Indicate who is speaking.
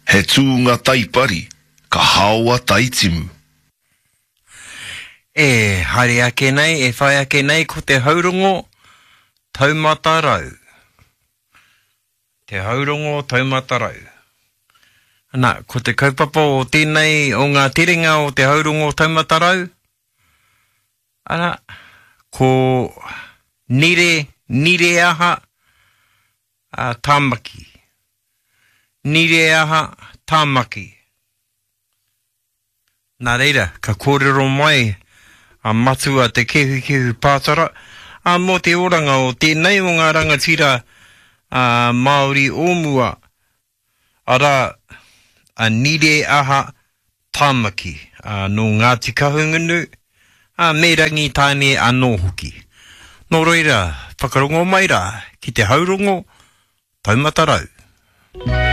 Speaker 1: He tūnga taipari, ka haoa taitimu.
Speaker 2: E haere ake nei, e whai ake nei ko te haurongo taumata rau. Te haurongo taumata rau. Ana, ko te kaupapa o tēnei o ngā terenga o te haurongo taumata rau, ana, ko Nire, Nireaha, a Tāmaki. Nireaha, Tāmaki. Nā reira, ka kōrero mai a Matua Te Kehukehu Pātara, ā, mō te oranga o tēnei o ngā rangatira Māori o mua, arā, a Nireaha Tāmaki, ā, nō Ngāti Kahungunu, ā, me Rangitāne anō hoki. Nō reira, whakarongo mai rā ki te haurongo Taumata Rau.